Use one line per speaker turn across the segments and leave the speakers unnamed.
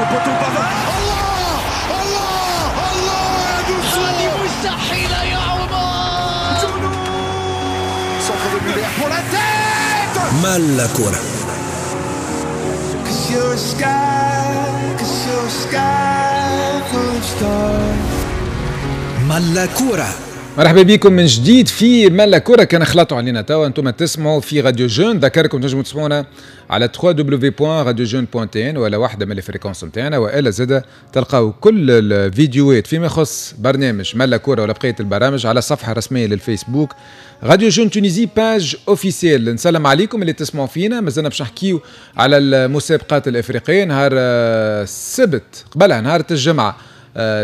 Au poteau Pavard. الله الله الله
هذه مستحيلة يا عمر.
Centre de Muller pour la tête.
ملا كرة.
Cause you're a sky, cause you're a sky full of stars.
ملا كرة.
مرحبا بكم من جديد في ملا كرة. كان خلطوا علينا توا، انتم تسمعوا في راديو جون. ذكركم تنجموا تسمعونا على www.radiojeune.tn ولا واحدة من ال fréquences نتاعنا، والا زاد تلقاو كل الفيديوهات فيما يخص برنامج ملا كرة ولا بقية البرامج على الصفحة الرسمية للفيسبوك راديو جون Tunisie page officielle. نسلم عليكم اللي تسمعوا فينا. مازلنا باش نحكيو على المسابقات الافريقية. نهار السبت، قبلها نهار الجمعة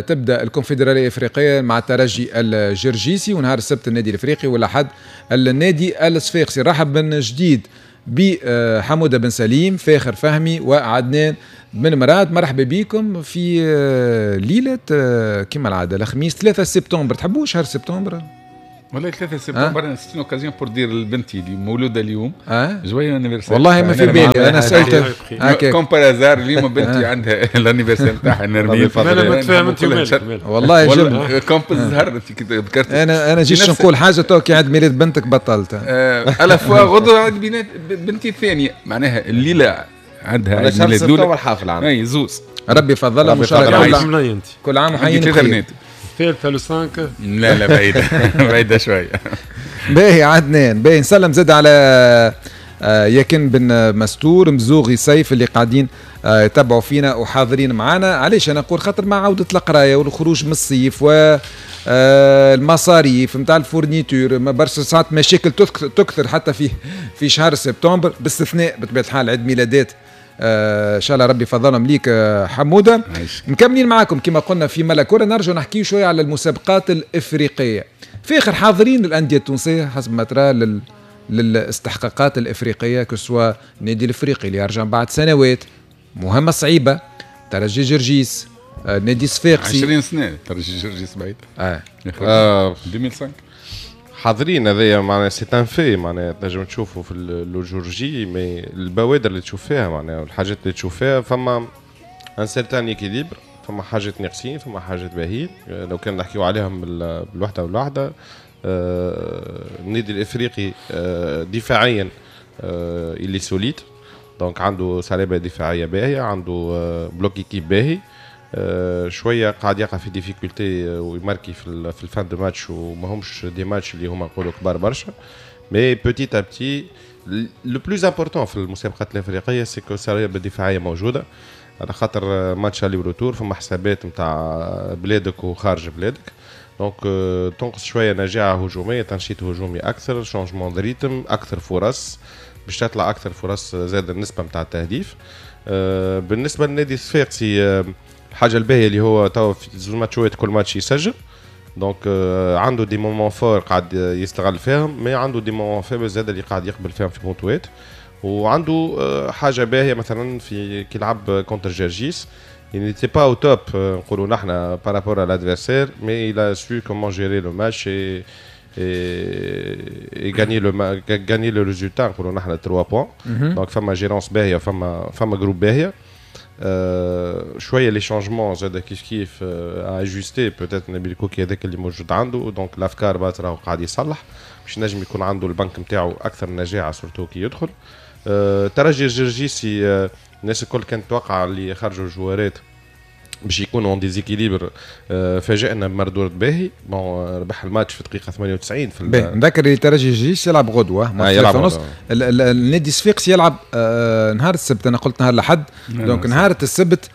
تبدا الكونفدراليه الافريقية مع الترجي الجرجيسي، ونهار السبت النادي الافريقي، والاحد النادي الصفاقسي. رحب من جديد بحموده بن سليم، فاخر فهمي، وعدنان بن مراد. مرحبا بكم في ليلة كما العادة الخميس 3 سبتمبر. تحبوا شهر سبتمبر؟
والله 3 سبتمبر c'est une occasion pour dire لبنتي اللي مولودة اليوم joyeux anniversaire.
والله ما في بالي، انا سالت.
هكا comme par hasard اليوم بنتي عندها l'anniversaire نتاعها نرمي.
مالا متفاهم انت ومالك.
والله جبت
comme الزهر انت كي ذكرت.
انا جيت نقول حاجة تو كي عيد ميلاد بنتك بطلت.
à la fois غدوه عيد ميلاد بنتي الثانيه، معناها الليلة عندها عيد
ميلاد الاولى حافل عندها.
اي زوز.
ربي يفضلها
وان
كل عام وحيين بخير.
ثالثة le 5.
لا لا، بعيدة بعيدة شوية.
باهي عدنان، باهي. نسلم زاد على يكن بن مستور، مزوغي سيف اللي قاعدين يتبعوا فينا وحاضرين معنا. علاش انا نقول؟ خاطر مع عودة القراية والخروج من الصيف و المصاريف نتاع ال fournitures، برشا ساعات مشاكل تكثر حتى في شهر سبتمبر، باستثناء بطبيعة الحال عيد ميلادات. ان شاء الله ربي يفضلهم ليك حموده. مكملين معاكم كما قلنا في ملا كرة. نرجع نحكي شوية على المسابقات الافريقيه. في اخر حاضرين الاندية التونسية حسب ما ترى للاستحقاقات الافريقيه، que ce soit النادي الافريقي اللي يرجع بعد سنوات، مهمة صعيبه، ترجي جرجيس، نادي صفاقسي؟
20 سنة ترجي جرجيس بعيد. 2005.
حاضرين، هذايا معناها c'est un fait، معناها تنجم تشوفوا في le jour J، mais البوادر اللي تشوف فيها معناها الحاجات اللي تشوف فيها فما un certain équilibre، فما حاجات ناقصين، فما حاجات باهيين. لو كان نحكيو عليهم بالوحدة بالوحده، النادي الافريقي دفاعيا il est solide، donc عنده صلابة دفاعية باهيه، عنده bloc équipe باهي. شوية قاعد يقع في difficulté ويماركي في ال fin de match، وما همش des matchs اللي هما نقولوا كبار برشا، mais petit à petit le plus important في المسابقات الافريقية c'est que الصلابة الدفاعية موجوده، على خاطر match aller-retour، فما حسابات نتاع بلادك وخارج بلادك، donc تنقص شوية نجاعه هجوميه، تنشيط هجومي اكثر، changement de rythme، اكثر فرص باش تطلع، اكثر فرص، زاد النسبة نتاع التهديف. بالنسبة للنادي الصفاقسي، الحاجة الباهيه اللي هو توا في زوج ماتشات كل ماتش يسجل، donc عنده des moments forts قاعد يستغل فيهم، mais عنده des moments faibles زاد اللي قاعد يقبل فيهم في بونتوات. وعنده حاجة باهيه، مثلا في كي لعب contre جرجيس il n'était pas au top نقولوا نحن par rapport à l'adversaire، mais il a su comment gérer le match et gagner le résultat، نقولوا نحن 3 points. donc فما gérance باهيه، فما groupe باهيه. شوية les changements زاد كيف كيف ajuster peut-être نبيل كوكي هذاك اللي موجود عنده، donc الافكار بات راهو قاعد يصلح باش نجم يكون عنده البنك نتاعو اكثر نجاعه، surtout كي يدخل. ترجي الجرجيسي، الناس الكل كانت تتوقع اللي خرجوا الجوارات باش يكونوا en déséquilibre، فاجئنا بمردود باهي. bon ربح الماتش في دقيقة 98 في
نذكر اللي ترجي جرجيس يلعب غدوه.
يلعب
ونص. النادي الصفاقسي يلعب نهار السبت، انا قلت نهار الاحد، donc نهار السبت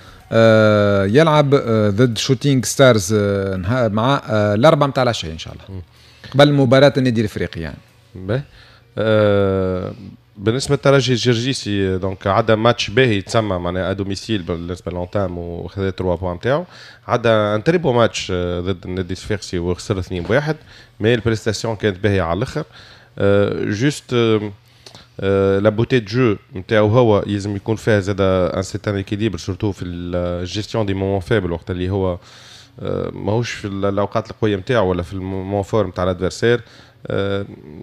يلعب ضد شوتينغ ستارز مع ال4 نتاع العشية ان شاء الله، قبل مباراة النادي الافريقي يعني.
باهي. بالنسبة للترجي الجرجيسي، donc عدا ماتش باهي تسمى معناها à domicile بالنسبة l'entame وخذا 3 points نتاعو. عدا un très beau match ضد النادي الصفاقسي وخسر 2-1، mais ال prestation كانت باهيه على الاخر. juste la beauté de jeu نتاعو هو يلزم يكون فيها زاد un certain équilibre، surtout في ال gestion des moments faibles، وقت اللي هو ماهوش في الاوقات القوية نتاعو ولا في ال moment fort نتاع l'adversaire.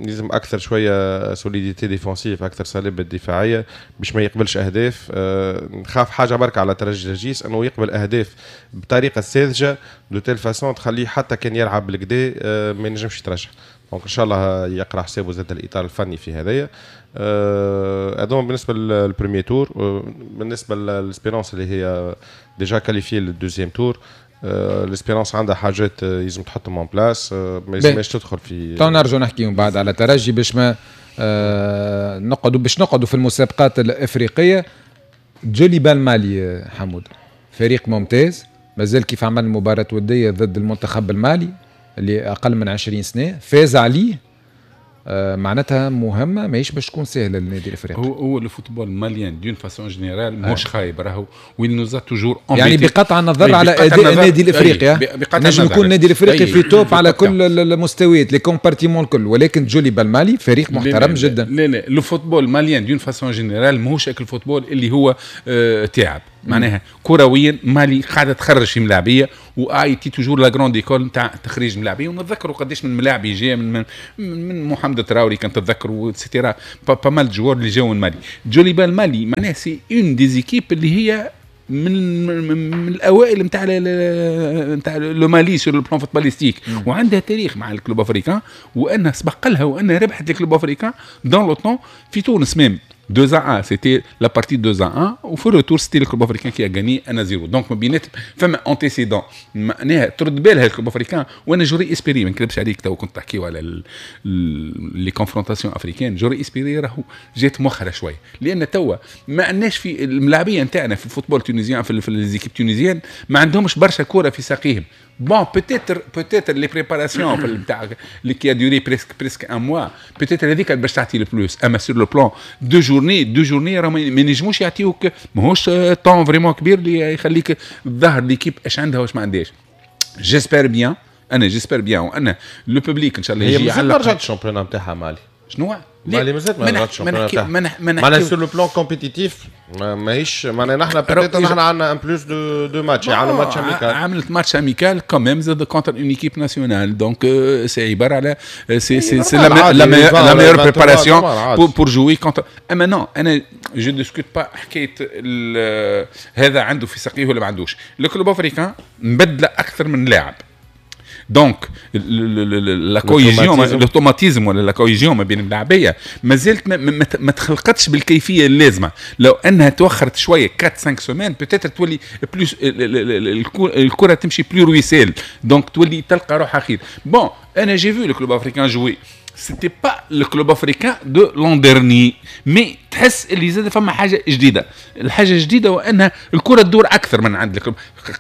لازم اكثر شوية solidité défensive، اكثر صلابة دفاعية باش ما يقبلش اهداف. نخاف حاجة برك على ترجي جرجيس انه يقبل اهداف بطريقة ساذجة de telle façon تخليه حتى كان يلعب بالكدا ما ينجمش يترشح. donc ان شاء الله يقرا حسابه زاد الاطار الفني في هذايا. هذوما بالنسبة لل premier tour. بالنسبة لل Espérance اللي هي déjà qualifiée لل deuxième tour، l'Espérance عندها حاجات لازم تحطهم en place، ما لازمش تدخل في
تو نرجع نحكي من بعد على ترجي باش ما نقعدوا باش نقعدوا في المسابقات الافريقية. جوليبال مالي حمود فريق ممتاز، مازال كيف عمل مباراة وديه ضد المنتخب المالي اللي اقل من 20 سنة فاز عليه، معناتها مهمة ماهيش باش تكون سهلة للنادي الافريقي.
هو le football malien d'une façon générale ماهوش خايب، راهو و il nous a toujours
يعني بقطع النظر على اداء النادي الافريقي، نجم يكون النادي الافريقي في top على كل المستويات les compartiments الكل، ولكن جوليبال مالي فريق محترم جدا.
لا لا le football malien d'une façon générale ماهوش ال football اللي هو تعب، معناها كرويا مالي قاعدة تخرج في ملاعبيه و a été toujours la grande école نتاع تخريج ملاعبيه، ونتذكروا قداش من ملاعبي جاء من محمد تراوري كان تتذكروا et cetera، pas mal de joueurs اللي جاوا من مالي. جوليبال مالي معناها c'est une des équipes اللي هي من الاوائل نتاع le Mali sur le plan footballistique، وعندها تاريخ مع ال Club Africain، وانها سبق لها وانها ربحت ال Club Africain dans le temps في تونس même 2-1، c'était la partie 2-1، وفي ال retour c'était ال Club Africain qui a gagné 1-0. donc ما بينات فما antécédent معناها ترد بالها ال Club Africain. وانا j'aurais espéré، ما نكذبش عليك تو كنت تحكيو على les confrontations africaines، j'aurais espéré راهو جات مؤخره شوية، لان توا ما عندناش في الملاعبيه نتاعنا في ال football tunisien في les équipes tunisiennes ما عندهمش برشا كورة في ساقيهم. bon peut-être les préparations نتاع اللي qui a duré presque un mois peut-être هذيك باش تعطي le plus، اما sur le plan deux journées راه ما ينجموش يعطيوك، ماهوش temps vraiment كبير اللي يخليك تظهر l'équipe اش عندها واش ما عندهاش. j'espère bien، انا j'espère bien وان le public ان شاء الله
يجي. هي مازال ما رجعتش ال championnat نتاعها مالي.
شنو؟
مالي مازالت ما رجعتش ال championnat نتاعها. معناها sur le plan compétitif ماهيش، معناها نحن peut-être نحن عندنا un plus de matchs، عندنا match amical،
عملت match amical quand même زاد contre une équipe nationale، donc c'est عبارة على c'est la meilleure préparation pour jouer contre. اما non انا je discute pas حكاية هذا عنده في ساقيه ولا ما عندوش. le Club Africain مبدله اكثر من لاعب، donc la cohésion، l'automatisme ولا la cohésion ما بين اللاعبيه مازالت ما تخلقتش بالكيفية اللازمة. لو انها توخرت شوية 4 5 semaines peut-être تولي plus الكره تمشي plus ruisselle، donc تولي تلقى روحها خير. bon انا j'ai vu le Club Africain jouer، c'était pas le Club Africain de l'an dernier، mais تحس اللي زاد فما حاجة جديده. الحاجة الجديدة وانها الكره تدور اكثر من عند ال club.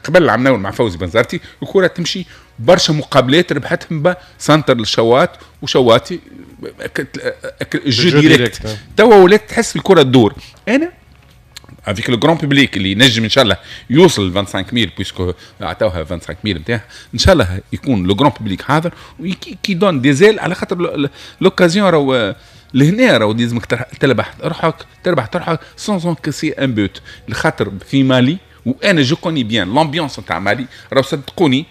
قبل عملنا مع فوزي بنزرتي الكره تمشي برشا، مقابلات ربحتهم centre للشوات وشواتي jeu direct. توا ولات تحس الكره تدور. انا avec le grand public اللي ينجم ان شاء الله يوصل ل 25000 puisque عطاوها 25000 نتاعها، ان شاء الله يكون le grand public حاضر qui donne des ailes، على خاطر l'occasion راهو لهنا، راهو لازمك تربح روحك sans encaisser un but، لخاطر في مالي وانا je connais bien l'ambiance نتاع مالي، راهو صدقوني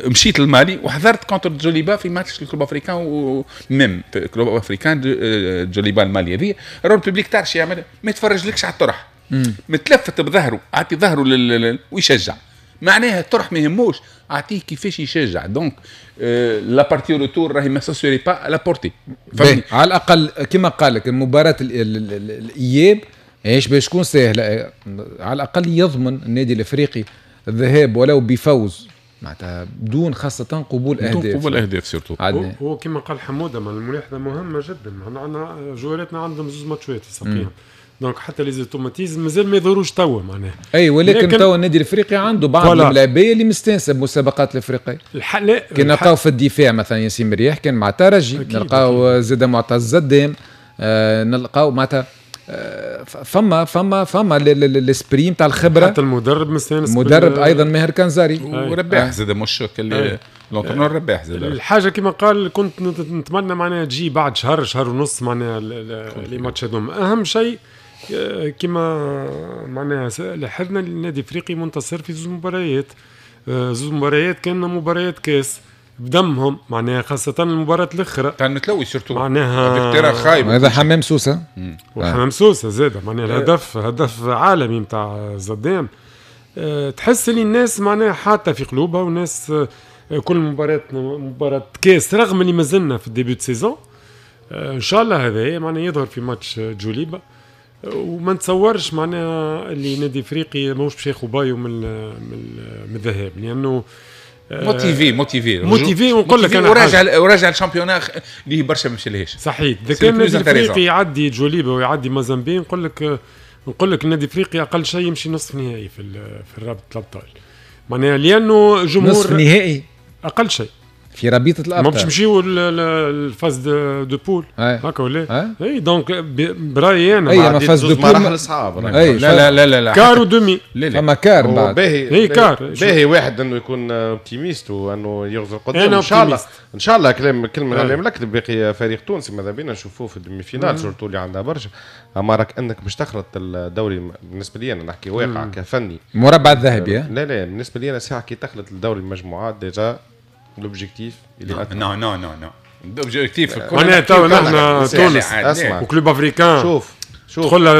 مشيت للمالي وحضرت contre جوليبا في ماتش ال Club Africain و même Club Africain جوليبا المالي هذه، راهو ال public تعرف يعمل ما يتفرجلكش على الطرح، متلفت بظهره، اعطي ظهره ويشجع، معناها الطرح ما يهموش، اعطيه كيفاش يشجع. donc la partie retour راهي ما serait pas à la portée.
على الاقل كما قال لك المباراة الاياب ايش باش تكون سهله، على الاقل يضمن النادي الافريقي الذهاب ولو بفوز، معناتها بدون خاصة قبول أهداف،
بدون قبول أهداف surtout.
هو كما قال حمودة الملاحظة مهمة جدا، عندنا جواراتنا عندهم زوز ماتشات يسقيهم، donc حتى les automatismes مازال ما يظهروش توا معناها.
اي ولكن توا النادي الافريقي عنده بعض الملاعبيه اللي مستانسه بمسابقات الافريقية. كي نلقاو في الدفاع مثلا ياسين مرياح كان مع ترجي، نلقاو زاد معتز زدام، نلقاو معناتها فما l'esprit نتاع الخبرة،
حتى المدرب مستانس،
المدرب ايضا ماهر كنزاري
ورباح زاد مش l'entraîneur رباح زاد.
الحاجة كما قال كنت نتمنى معناها تجي بعد شهر شهر ونص معناها les matchs هذوما. اهم شيء كما معناها لاحظنا النادي الافريقي منتصر في زوج مباريات، زوج مباريات كان مباريات كاس. بدمهم، معناها خاصة المباراة الاخرى
تاع المتلوي surtout
معناها
خايب.
هذا حمام سوسة،
وحمام سوسة زاد معناها الهدف هدف عالمي نتاع زدام. تحس اللي الناس معناها حاطه في قلوبها، والناس كل مباراة مباراة كاس، رغم اللي مازلنا في ال début de saison. ان شاء الله هذا معناها يظهر في ماتش جوليبا، وما نتصورش معناها اللي نادي افريقي ماهوش باش ياخذ بايو من الذهاب، لانه
motivé motivé
motivé. ونقول لك انا
وراجع ال championnat اللي برشا ما مشالهاش.
صحيح، اذا كان النادي الافريقي يعدي جوليبا ويعدي مازامبي، نقول لك النادي الافريقي اقل شيء يمشي نصف نهائي في رابطه الابطال، معناها لانه جمهور
نصف نهائي
اقل شيء
في رابطه الابطال،
ما باش نمشيو ال phase de poules هكا ولا؟ اي donc برايي انا
اي ما phase de poules
مراحل صعاب.
لا لا لا لا لا،
quart و demi.
فما quart بعد.
باهي.
اي quart.
باهي واحد انه يكون optimiste وانه يغزر قدام ان شاء الله. ان شاء الله كلام كلمة على لك باقي فريق تونسي ماذا بينا نشوفوه في ال demi-finale، surtout اللي عندها برشا. اما راك انك باش تخلط الدوري، بالنسبة لي انا نحكي واقع كفني.
مربع الذهبي.
لا لا، بالنسبة لي انا ساعة كي تخلط الدوري المجموعات déjà l'objectif.
non non non non، l'objectif
معناها تو نحن تونس و Club Africain
شوف شوف.
تدخل.